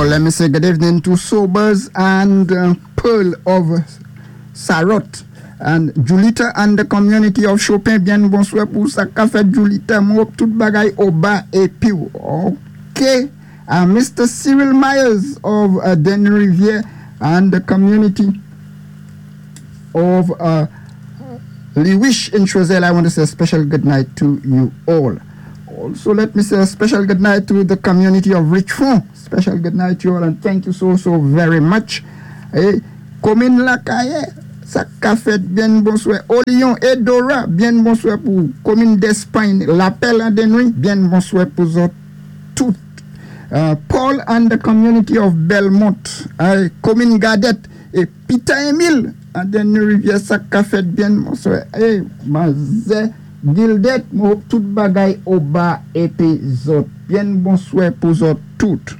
all. Let me say good evening to Sobers and Pearl of Sarot and Julita and the community of Chopin. Byen bonswè pou sa ka fèt, Julita. Mwen hope tout bagay oba épi. OK. Mr. Cyril Myers of Denny Riviere and the community of Lewish in Choiseul, I want to say a special good night to you all. Also, let me say a special good night to the community of Richmond. Special good night to you all and thank you so, so very much. É komin Lakayè, sa ka fèt, byen bonswè. Olion é Dora, byen bonswè pou komin Despagne, Lapèl an Dennery, byen bonswè pou zòt tout. Paul and the community of Belmont, komin Gadette, é Peter Emile an Dennery Rivyè, sa ka fèt, byen bonswè. É Manzè Gildet, mwen hope tout bagay oba épi zòt. Byen bonswè pou zòt tout.